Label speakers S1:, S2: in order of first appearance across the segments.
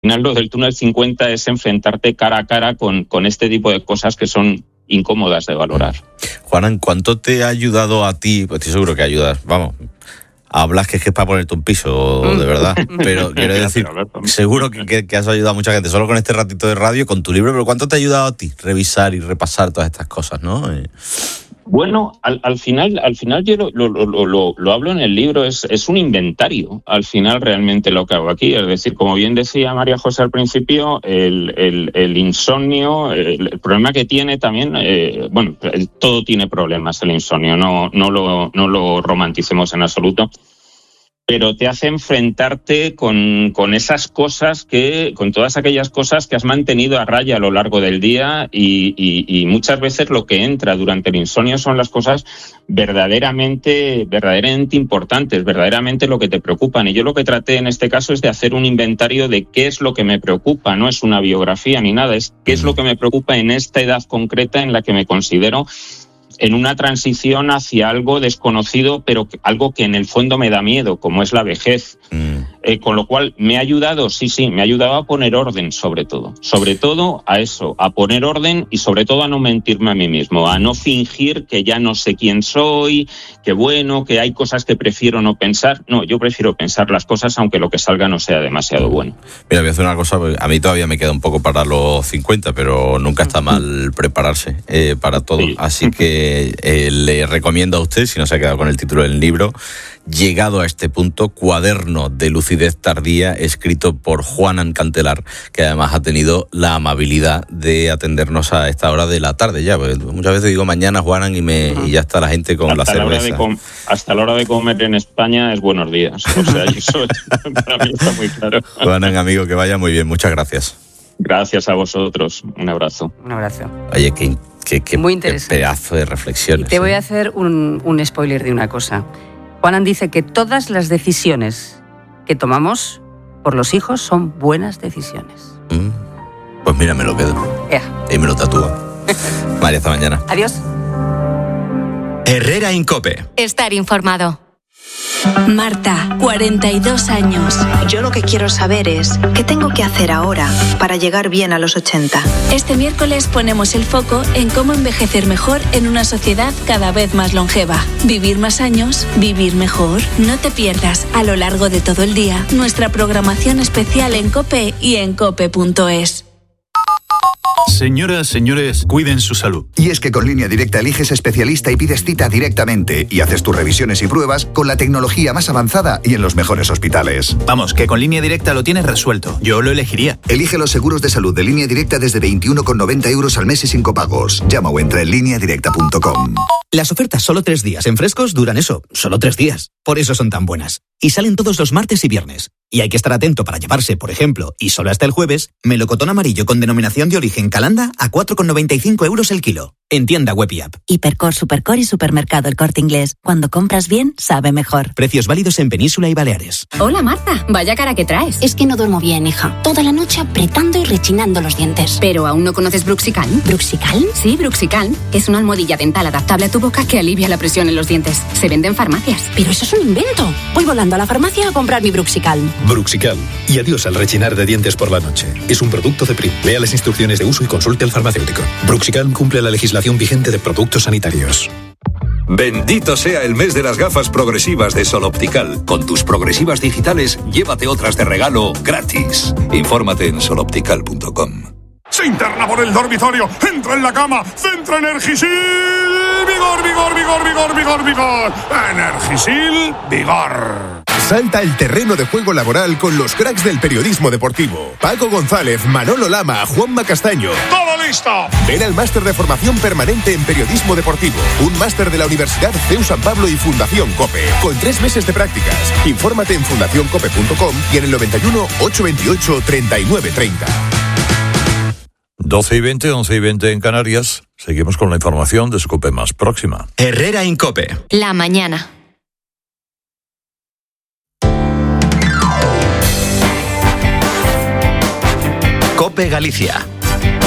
S1: final lo del túnel 50 es enfrentarte cara a cara con este tipo de cosas que son incómodas de valorar.
S2: Juanan, ¿cuánto te ha ayudado a ti? Pues estoy seguro que ayudas, vamos, hablas que es para ponerte un piso, de verdad, pero quiero decir, seguro que has ayudado a mucha gente, solo con este ratito de radio, con tu libro, pero ¿cuánto te ha ayudado a ti revisar y repasar todas estas cosas, no?
S1: Bueno, al final yo lo hablo en el libro, es un inventario, al final realmente lo que hago aquí. Es decir, como bien decía María José al principio, el insomnio, el problema que tiene también, todo tiene problemas el insomnio, no lo romanticemos en absoluto, pero te hace enfrentarte con esas cosas con todas aquellas cosas que has mantenido a raya a lo largo del día y muchas veces lo que entra durante el insomnio son las cosas verdaderamente importantes, verdaderamente lo que te preocupan. Y yo lo que traté en este caso es de hacer un inventario de qué es lo que me preocupa, no es una biografía ni nada, es qué es lo que me preocupa en esta edad concreta en la que me considero en una transición hacia algo desconocido, pero algo que en el fondo me da miedo, como es la vejez. Con lo cual me ha ayudado a poner orden sobre todo a eso, a poner orden y sobre todo a no mentirme a mí mismo, a no fingir que ya no sé quién soy, que hay cosas que prefiero no pensar. No, yo prefiero pensar las cosas aunque lo que salga no sea demasiado bueno. Mira,
S2: voy a hacer una cosa, a mí todavía me queda un poco para los 50, pero nunca está mal prepararse para todo, sí. Así que le recomiendo a usted, si no se ha quedado con el título del libro, Llegado a este punto, cuaderno de lucidez tardía, escrito por Juanan Cantelar, que además ha tenido la amabilidad de atendernos a esta hora de la tarde ya, porque muchas veces digo mañana, Juanan, y ya está la gente con la cerveza.
S1: Hasta la hora de comer en España es buenos días, o sea, eso para mí está muy claro.
S2: Juanan, amigo, que vaya muy bien, muchas gracias.
S1: Gracias a vosotros, un abrazo.
S3: Un abrazo.
S2: Oye, qué
S3: muy interesante.
S2: Qué pedazo de reflexiones.
S3: Y te voy a hacer un spoiler de una cosa. Juanan dice que todas las decisiones que tomamos por los hijos son buenas decisiones.
S2: Pues mira, me lo quedo. Y me lo tatúo. María, hasta mañana.
S3: Adiós.
S4: Herrera en COPE.
S5: Estar informado.
S6: Marta, 42 años.
S7: Yo lo que quiero saber es qué tengo que hacer ahora para llegar bien a los 80.
S6: Este miércoles ponemos el foco en cómo envejecer mejor en una sociedad cada vez más longeva. Vivir más años, vivir mejor. No te pierdas a lo largo de todo el día nuestra programación especial en COPE y en cope.es.
S8: Señoras, señores, cuiden su salud.
S9: Y es que con Línea Directa eliges especialista y pides cita directamente y haces tus revisiones y pruebas con la tecnología más avanzada y en los mejores hospitales.
S8: Vamos, que con Línea Directa lo tienes resuelto. Yo lo elegiría.
S9: Elige los seguros de salud de Línea Directa desde 21,90 € al mes y sin copagos. Llama o entra en lineadirecta.com.
S10: Las ofertas solo 3 días en Frescos duran eso, solo 3 días. Por eso son tan buenas. Y salen todos los martes y viernes. Y hay que estar atento para llevarse, por ejemplo, y solo hasta el jueves, melocotón amarillo con denominación de origen Calanda a 4,95 € el kilo. En tienda web y app.
S11: Hipercor, Supercor y Supermercado El Corte Inglés. Cuando compras bien, sabe mejor.
S10: Precios válidos en Península y Baleares.
S5: Hola Marta, vaya cara que traes.
S11: Es que no duermo bien, hija. Toda la noche apretando y rechinando los dientes.
S5: ¿Pero aún no conoces Bruxicalm?
S11: ¿Bruxicalm?
S5: Sí, Bruxicalm. Es una almohadilla dental adaptable a tu boca que alivia la presión en los dientes. Se vende en farmacias.
S11: Pero eso es un invento. Voy volando a la farmacia a comprar mi Bruxicalm.
S12: Bruxicalm. Y adiós al rechinar de dientes por la noche. Es un producto de PRI. Lea las instrucciones de uso y consulte al farmacéutico. Bruxicalm cumple la legislación vigente de productos sanitarios.
S13: Bendito sea el mes de las gafas progresivas de Sol Optical. Con tus progresivas digitales, llévate otras de regalo gratis. Infórmate en soloptical.com.
S14: Se interna por el dormitorio, entra en la cama, centra Energisil, vigor, vigor, vigor, vigor, vigor, vigor. Energisil, vigor.
S15: Salta al terreno de juego laboral con los cracks del periodismo deportivo. Paco González, Manolo Lama, Juanma Castaño.
S14: ¡Todo listo!
S15: Ven al máster de formación permanente en periodismo deportivo. Un máster de la Universidad CEU San Pablo y Fundación COPE. Con 3 meses de prácticas. Infórmate en fundacioncope.com y en el 91 828 3930.
S16: 12:20, 11:20 en Canarias. Seguimos con la información de su COPE más próxima.
S4: Herrera en COPE.
S5: La mañana.
S4: COPE Galicia.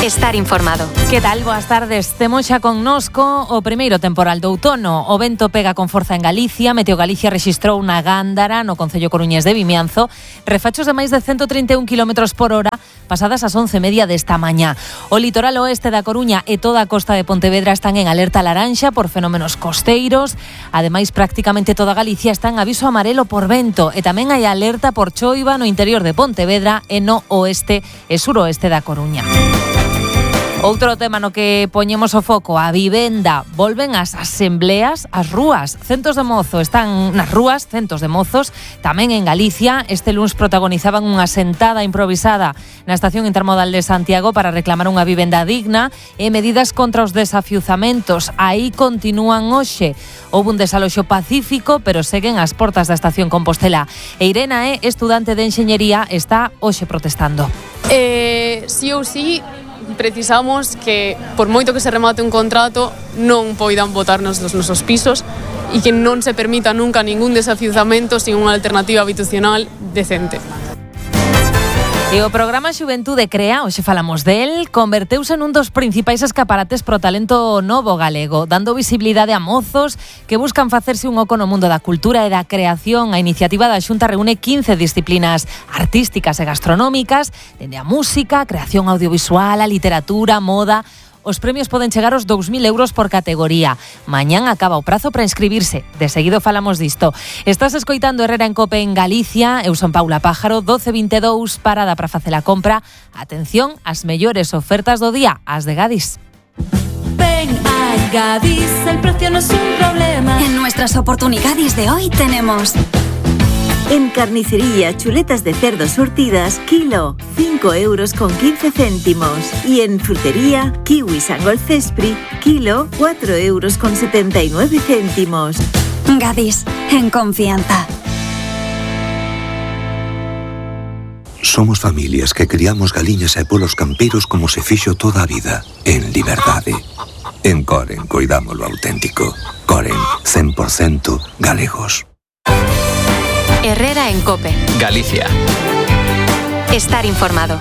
S4: Estar informado.
S17: Que tal? Boas tardes. Temos xa connosco o primeiro temporal do outono. O vento pega con forza en Galicia. Meteo Galicia rexistrou na Gándara, no concello coruñés de Vimianzo, refachos de máis de 131 km por hora pasadas as 11:30 desta mañá. O litoral oeste da Coruña e toda a costa de Pontevedra están en alerta laranxa por fenómenos costeiros. Ademais, prácticamente toda Galicia está en aviso amarelo por vento e tamén hai alerta por choiva no interior de Pontevedra e no oeste e suroeste da Coruña. Outro tema no que poñemos o foco, a vivenda. Volven as asembleas ás rúas. Centos de mozos están nas rúas, centos de mozos, tamén en Galicia. Este luns protagonizaban unha sentada improvisada na estación intermodal de Santiago para reclamar unha vivenda digna e medidas contra os desafiuzamentos. Aí continúan hoxe. Houve un desaloxo pacífico, pero seguen as portas da estación Compostela. E Irena estudante de enxeñería, está hoxe protestando.
S18: Sí ou sí, precisamos que, por moito que se remate un contrato, non poidan botarnos dos nosos pisos e que non se permita nunca ningún desafiuzamento sin unha alternativa habitacional decente.
S17: E o programa Xuventude Crea, hoxe falamos del, converteuse nun dos principais escaparates pro talento novo galego, dando visibilidade a mozos que buscan facerse un oco no mundo da cultura e da creación. A iniciativa da Xunta reúne 15 disciplinas artísticas e gastronómicas, dende a música, a creación audiovisual, a literatura, moda. Os premios poden chegar aos 2.000 euros por categoría. Mañán acaba o prazo para inscribirse. De seguido falamos disto. Estás escoitando Herrera en Cope en Galicia. Eu son Paula Pájaro, 12:22, parada para facer a compra. Atención, as mellores ofertas do día, as de Gadis.
S19: Ven a Gadis, el precio no es un problema.
S4: En nuestras oportunidades de hoy tenemos...
S11: En carnicería, chuletas de cerdo surtidas, kilo, 5,15 €. Y en frutería, kiwis Angol Cespri, kilo, 4,79 €.
S4: Gadis, en confianza.
S20: Somos familias que criamos galiñas e polos campeiros como se fixo toda a vida, en liberdade. En Coren coidamos lo auténtico. Coren, 100% galegos.
S4: Herrera en Cope.
S2: Galicia.
S4: Estar informado.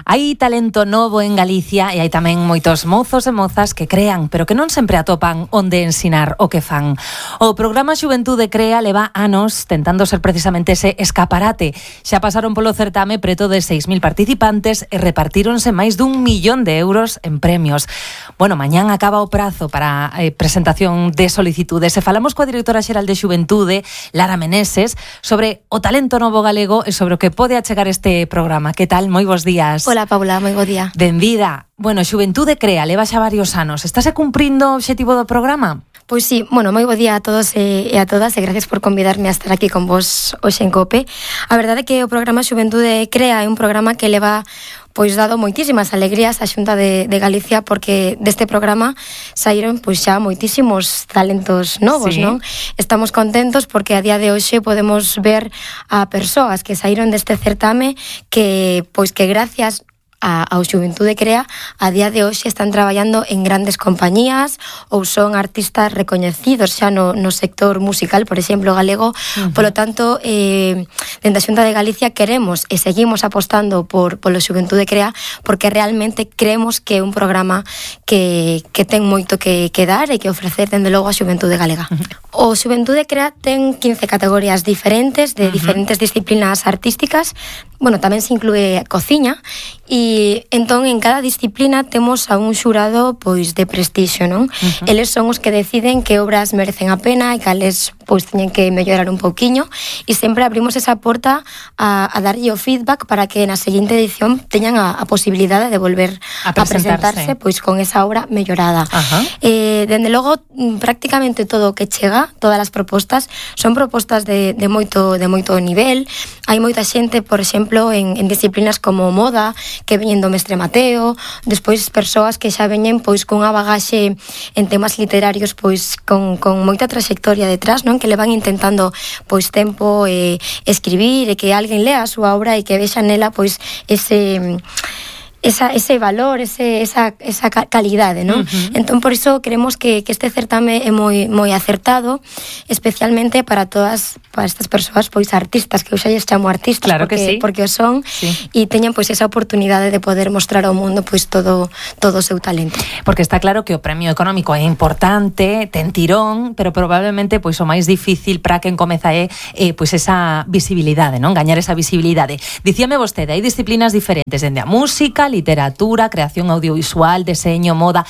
S17: Hai talento novo en Galicia e hai tamén moitos mozos e mozas que crean, pero que non sempre atopan onde ensinar o que fan. O programa Xuventude Crea leva anos tentando ser precisamente ese escaparate. Xa pasaron polo certame preto de 6.000 participantes e repartíronse máis d'1 millón de euros en premios. Bueno, mañán acaba o prazo para presentación de solicitudes e falamos coa directora xeral de Xuventude, Lara Meneses, sobre o talento novo galego e sobre o que pode achegar este programa. Que tal? Moi bons días.
S21: Hola, Paula, moi bo día.
S17: Benvida. Bueno, Xuventude Crea, leva xa varios anos. Estase cumprindo o obxectivo do programa?
S21: Pois sí, bueno, moi bo día a todos e a todas e gracias por convidarme a estar aquí con vos hoxe en Cope. A verdade é que o programa Xuventude Crea é un programa que leva pois dado moitísimas alegrías á Xunta de Galicia porque deste programa saíron pois xa moitísimos talentos novos, sí. Non? Estamos contentos porque a día de hoxe podemos ver a persoas que saíron deste certame que pois que gracias ao Xuventude Crea a día de hoxe están traballando en grandes compañías ou son artistas recoñecidos xa no sector musical, por exemplo, galego. Polo tanto, dende a Xunta de Galicia queremos e seguimos apostando polo Xuventude Crea porque realmente creemos que é un programa que ten moito que dar e que ofrecer dende logo a Xuventude Galega. O Xuventude Crea ten 15 categorías diferentes de diferentes disciplinas artísticas. Bueno, tamén se inclúe cociña e entón en cada disciplina temos a un xurado pois de prestixio, non? Eles son os que deciden que obras merecen a pena e cales pois teñen que mellorar un pouquiño e sempre abrimos esa porta a darlle o feedback para que na seguinte edición teñan a posibilidade de volver a presentarse pois con esa obra mellorada. Dende logo, prácticamente todo o que chega, todas as propostas, son propostas de moito nivel. Hai moita xente, por exemplo, en disciplinas como moda, que veñen do mestre Mateo, despois persoas que xa veñen pois cunha bagaxe en temas literarios pois con moita trayectoria detrás, non? Que le van intentando pois tempo escribir e que alguén lea a súa obra e que vexa nela pois ese valor, esa calidade, non? Entón, por iso creemos que este certame é moi acertado, especialmente para estas persoas, pois artistas, que eu xa lles chamo artistas,
S17: claro
S21: porque o son, e teñen pois esa oportunidade de poder mostrar ao mundo pois todo o seu talento.
S17: Porque está claro que o premio económico é importante, ten tirón, pero probablemente pois o máis difícil para quen comeza é pois esa visibilidade, non? Gañar esa visibilidade. Dicíame vostede, hai disciplinas diferentes, dende a música, literatura, creación audiovisual, deseño, moda.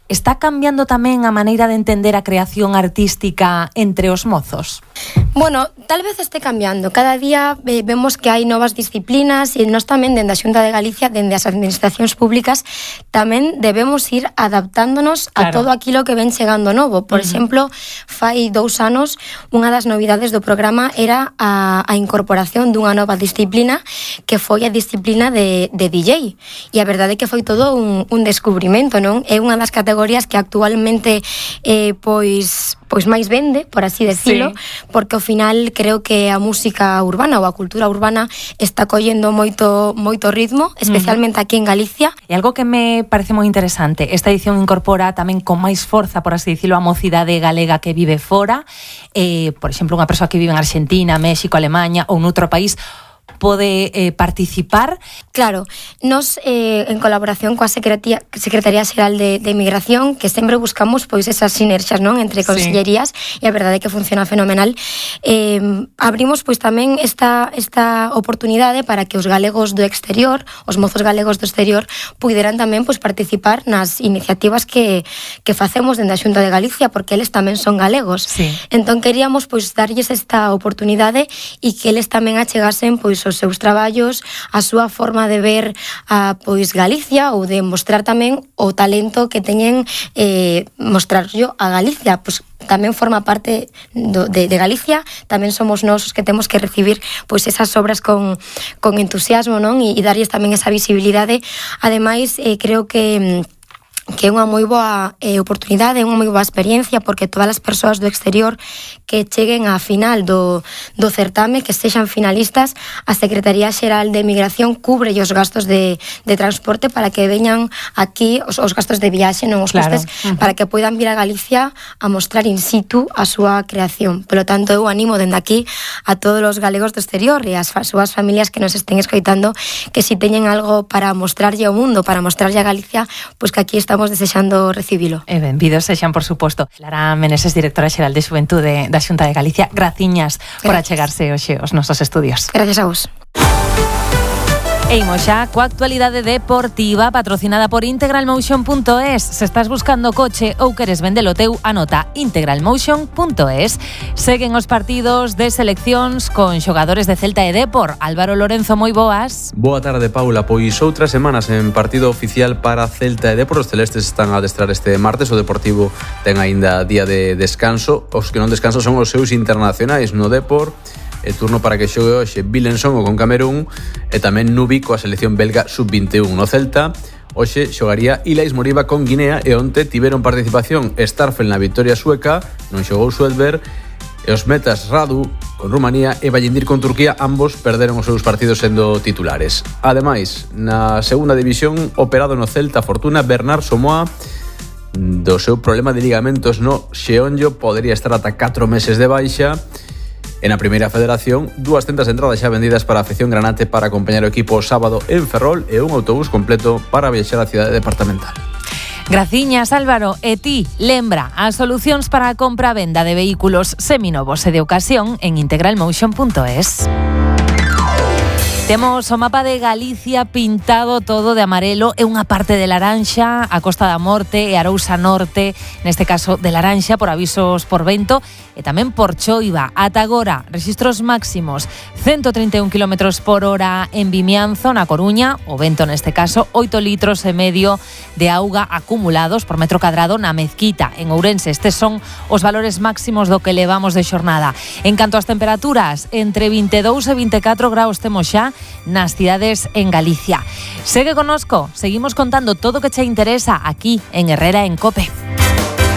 S17: Está cambiando tamén a maneira de entender a creación artística entre os mozos?
S21: Bueno, tal vez este cambiando. Cada día vemos que hai novas disciplinas e nós tamén, dende a Xunta de Galicia, dende as administracións públicas, tamén debemos ir adaptándonos a todo aquilo que ven chegando novo. Por exemplo, fai 2 anos, unha das novidades do programa era a incorporación dunha nova disciplina que foi a disciplina de DJ. E a verdade é que foi todo un descubrimento, non? É unha das categorías que actualmente pois máis vende, por así decirlo, porque ao final creo que a música urbana ou a cultura urbana está collendo moito ritmo, especialmente aquí en Galicia.
S17: E algo que me parece moi interesante, esta edición incorpora tamén con máis forza, por así decirlo, a mocidade galega que vive fora, por exemplo, unha persoa que vive en Argentina, México, Alemania ou noutro país, pode participar.
S21: Claro, nos en colaboración coa Secretaría Xeral de Migración, que sempre buscamos pois esas sinerxias, non, entre consellerías, e a verdade é que funciona fenomenal. Abrimos pois tamén esta oportunidade para que os galegos do exterior, os mozos galegos do exterior, puderan tamén pois participar nas iniciativas que facemos dende a Xunta de Galicia, porque eles tamén son galegos. Entón queríamos pois darlles esta oportunidade e que eles tamén achegasen pois os seus traballos, a súa forma de ver a pois Galicia, ou de mostrar tamén o talento que teñen, mostrar yo a Galicia, pois tamén forma parte de Galicia, tamén somos nós os que temos que recibir pois esas obras con entusiasmo, non? E darlles tamén esa visibilidade. Ademais, creo que é unha moi boa oportunidade, unha moi boa experiencia, porque todas as persoas do exterior que cheguen á final do certame, que sexan finalistas, a Secretaría Xeral de Migración cubre os gastos de transporte para que veñan aquí, os gastos de viaxe, non os costes, para que poidan vir a Galicia a mostrar in situ a súa creación. Polo tanto, eu animo dende aquí a todos os galegos do exterior e as súas familias que nos estén escoitando, que si teñen algo para mostrarlle ao mundo, para mostrarlle a Galicia, pois que aquí estamos desexando recibilo.
S17: E benvidos sexan, por suposto. Lara Meneses, directora xeral de Xuventude da Xunta de Galicia, graciñas por achegarse hoxe aos nosos estudios.
S21: Gracias a vos.
S17: E imos xa coa actualidade deportiva patrocinada por integralmotion.es. Se estás buscando coche ou queres vendelo teu, anota integralmotion.es. Seguen os partidos de seleccións con xogadores de Celta e Depor. Álvaro Lorenzo, moi boas.
S1: Boa tarde, Paula. Pois outras semanas en partido oficial para Celta e Depor. Os celestes están a adestrar este martes. O Deportivo ten aínda día de descanso. Os que non descansan son os seus internacionais no Depor. E turno para que xogue hoxe Vilenson con Camerún e tamén Nubi coa selección belga sub-21. No Celta hoxe xogaría Ilais Moriba con Guinea e onte tiveron participación Starfel na victoria sueca, non xogou Suedberg, e os metas Radu con Rumanía e Vallindir con Turquía, ambos perderon os seus partidos sendo titulares. Ademais, na segunda división, operado no Celta Fortuna, Bernard Somoa, do seu problema de ligamentos no xeonllo, podería estar ata 4 meses de baixa. En a primeira federación, 200 entradas xa vendidas para a afección granate para acompañar o equipo o sábado en Ferrol e un autobús completo para viaxar á cidade departamental.
S17: Graciñas, Álvaro. E ti, lembra as solucións para a compra-venda de vehículos seminovos e de ocasión en integralmotion.es. Temos o mapa de Galicia pintado todo de amarelo e unha parte de laranxa, a Costa da Morte e Arousa Norte, neste caso de laranxa por avisos por vento e tamén por choiva. Ata agora, rexistros máximos 131 km por hora en Vimianzo, na Coruña, o vento neste caso 8,5 litros de auga acumulados por metro cadrado na Mezquita, en Ourense. Estes son os valores máximos do que levamos de xornada. En canto ás temperaturas, entre 22 e 24 graus temos xa nas cidades en Galicia. Segue connosco, seguimos contando todo o que che interesa aquí en Herrera en COPE.